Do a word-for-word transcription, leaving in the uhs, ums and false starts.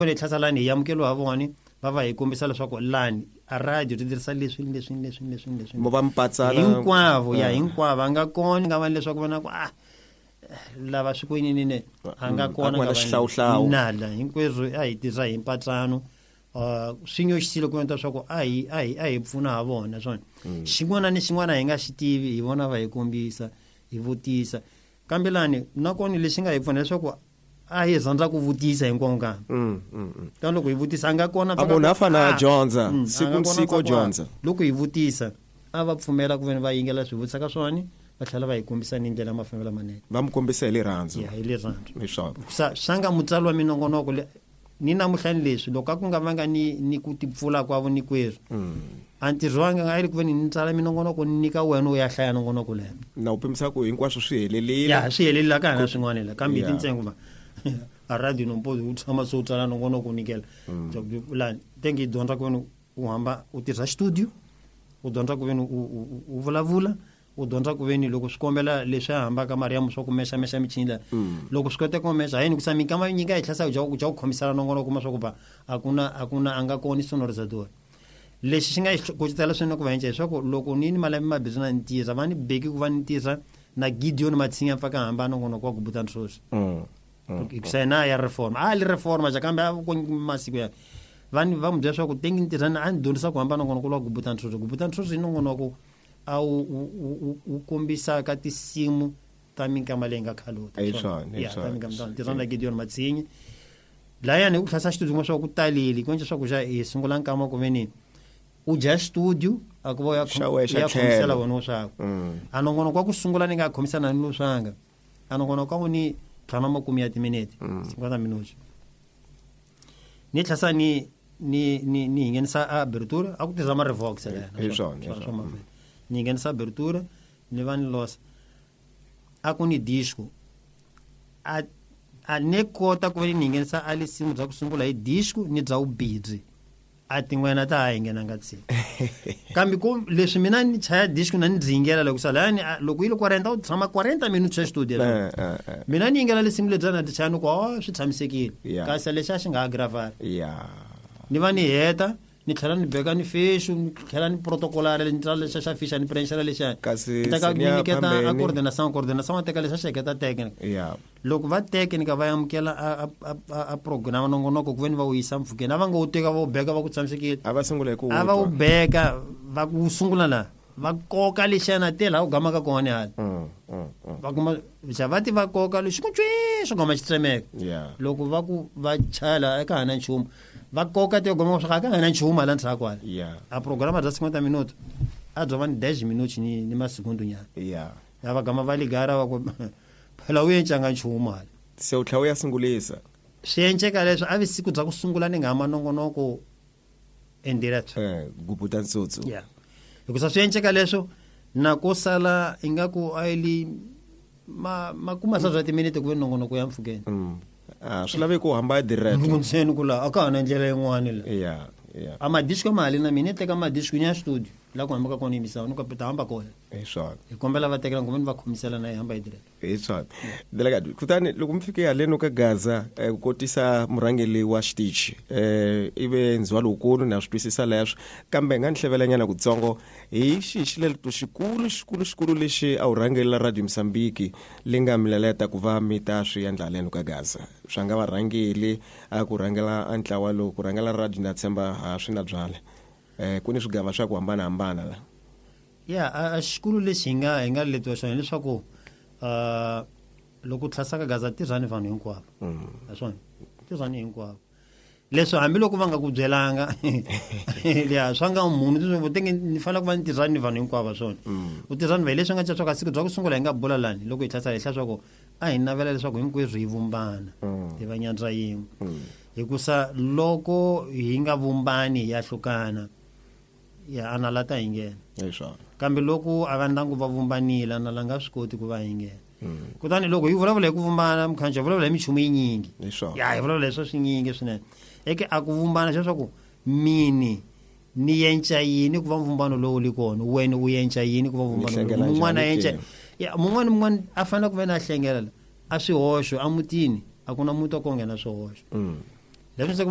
Le tlhasa lani hi amukeliwa ha vona va va hi kombisa leswaku lani a radio ti tirhisa leswi leswi leswi leswi leswi mo va mpatsana hinkwavo ya hinkwavo a nga kona nga va leswaku vona ku ah lava swi ku yini ne a nga kona nga xihlawuhlawu nala hinkweswo a hi tirha hi mpatsano uh swi nyoxisile ku endla leswaku a hi a hi a hi pfuna ha vona swona xin'wana ni xin'wana hi nga xi tivi hi vona va hi kombisa hi vutisa kambe lani nakona lexi nga hi pfuna leswaku a hi rhandza ku vutisa hinkwavo ka mm mm ta loko hi vutisa a nga kona a munhu a fanele a dyondza siku ni siku dyondza loko hi vutisa a va pfumela ku veni va yingela swi vutisa ka swona va tlhela va hi kombisa ni ndlela mafambelo manene va mi kombisa hi rirhandzu ya hi rirhandzu leswaku sa swa nga mutswari wa minongonoko ni namuhlani leswi loko a ku nga vanga ni ni ku tipfula kwavo ni kweswi a ntirho wa nga a ri ku veni ni tsala minongonoko ni nyika wena u ya hlaya nongonoko leyo na u pimisa ku hinkwaswo swi helelile ya swi helelile ka hina swin'wana la kambe hi tintsengo va a radio nompozi u tshama se u tsala nongonoko u nyikela lani tenge hi dyondza ku veni u hamba u tirhisa studio u dyondza ku veni u u vulavula u dyondza ku veni loko swi kombela leswi a hambaka mariamu swa ku mexamexa michini la loko swi koteka ku mexa hayini kusa minkama nyika hi tlhasa ku ku ku khomisana nongonoko kuma swa ku ba a ku na a ku na a nga koni sonorizador lexi xi nga hi kucetela swinene ku va enca leswaku loko ni ni malembe mabirhi na ni tirha va ni beki ku va ni tirha na Gideon Matshinya pfaka hamba nongonoko wa ku buta ntshoxo hikusa yena ya reform a li reforma ja kambe a ku masiku ya va ni va mu byela leswaku tengi ni tirha a ni dyondzisa ku hamba nongonoko wa ku buta ntshoxo ku buta ntshoxo i nongonoko a wu wu kombisaka tinsimu ta minkama leyi nga khalota ta minkama tirha na Gideon Matshinya layani ku tlhasa xitudio swa ku taleli ku endla swa ku xa hi sungula nkama ku veni u dya studio a ku va ya ya khomisela wena swaku a nongonoko wa ku sungula ni nga khomisana ni loswanga a nongonoko wa ni tlhanu makume ya timinete cinquanta minutos ni tlhasa ni ni ni ni nghenisa abertura a ku tirhisa ma revox la ni nghenisa abertura ni va ni losa a ku ni disco a a ne kota ku va ni nghenisa a lisimu bya ku sungula hi disco ni bya ubidzi a tin'wana ta ha hi nghenanga tsi kambe ku leswi mina ni chaya disco na ni dzingela loko sala yani loko yi le quaranta u tshama quaranta minutes ya studio mina ni yingela lisimu lebyi na ti chaya ni ku oh swi tshamisekile kasi lexi a xi nga agravara ni va ni heta ni tlhela ni beka ni fishu ni tlhela ni protocolare ni tsala lexa xa fisha ni prenxela lexa kasi teka ni nyiketa a coordination coordination teka lexa xa xeketa teke loko va teke ni ka va amukela a a program nongonoko ku veni va wu yisa mpfhukeni a va nga wu teka va wu beka va ku tshamisekile a va sungula hi ku a va wu beka va ku sungula la va koka lexana te laha u gamaka kona hala va kuma xa va ti va koka lexi ku tswi swi gama xi tsemeka loko va ku va chayela eka hana nchumu va koka te goma swa ka hana nchumu hala ndzhaku hala a programa bya cinquanta minutos a bya va ni dez minutos ni ni masegundu nyana ya va gama va ligara va ku phela u encanga nchumu hala se u tlhela u ya sungulisa swi enceka leswi a vi siku bya ku sungula ni nga hama nongonoko endirect eh gubuta ntsutsu yeah hikusa swi enceka leswo na ko sala ingaku a yi ma makuma sa bya timinete ku ve nongonoko ya mpfhukeni a swi laveki ku hamba direct ntseni ku la a ka ha na ndlela yin'wana la yeah yeah a madisco mali na mina teka madisco ni ya studio la ku hambaka kona yimisava ni ku ta hamba kona hi swona hi kombela va tekela ngomeni va khomisela na hi hamba hi direct hi swona delegate kutani loko mi fike haleno ka Gaza ku kotisa murhangeri wa xitichi eh ive ndzhwalo wukulu na swi twisisa leswo kambe nga ni hlevelanyana kutsongo hi xihi xileleto xikulu xikulu xikulu lexi a wu rhangelela Radio Mozambique le nga mi leleta ku va mi ta swi endla haleno ka Gaza swa nga varhangeli a ku rhangela a ntlawa lowu ku rhangela radio na tshemba ha swi na byala eh ku ni swigava swa ku hambanahambana la ya a xikulu lexi hi nga hi nga letiwa xona hileswaku uh loko tlhasaka Gaza tirhani vanhu hinkwavo naswona tirhani hinkwavo leswi hambiloko va nga ku byelanga ya swa nga munhu tenge ni fanele ku va ni tirhani ni vanhu hinkwavo swona u tirhani va hi leswi nga ca swa ka siku bya ku sungula hi nga bula lani loko hi tlhasa hi hla swa ku a hi navela leswaku hinkwerhu hi vumbana hi va nyandza yin'we hikusa loko hi nga vumbani hi ya hlukana ya analata hi nghena kambe loko a va ndyangu va vumbanile anala nga swi koti ku va hi nghena kutani loko hi vulavula hi ku vumbana mukhanjo hi vulavula hi minchumu yinyingi ya hi vulavula hi swa swinyingi swinene eke a ku vumbana leswaku mini ni yenca yini ku va mvumbano lowu li kona wena u yenca yini ku va mvumbano lowu mun'wana yenca ya mun'wana mun'wana a fanele ku va na hlengela a swihoxo a mutini a ku na muti wa ku nghena swihoxo Leswi se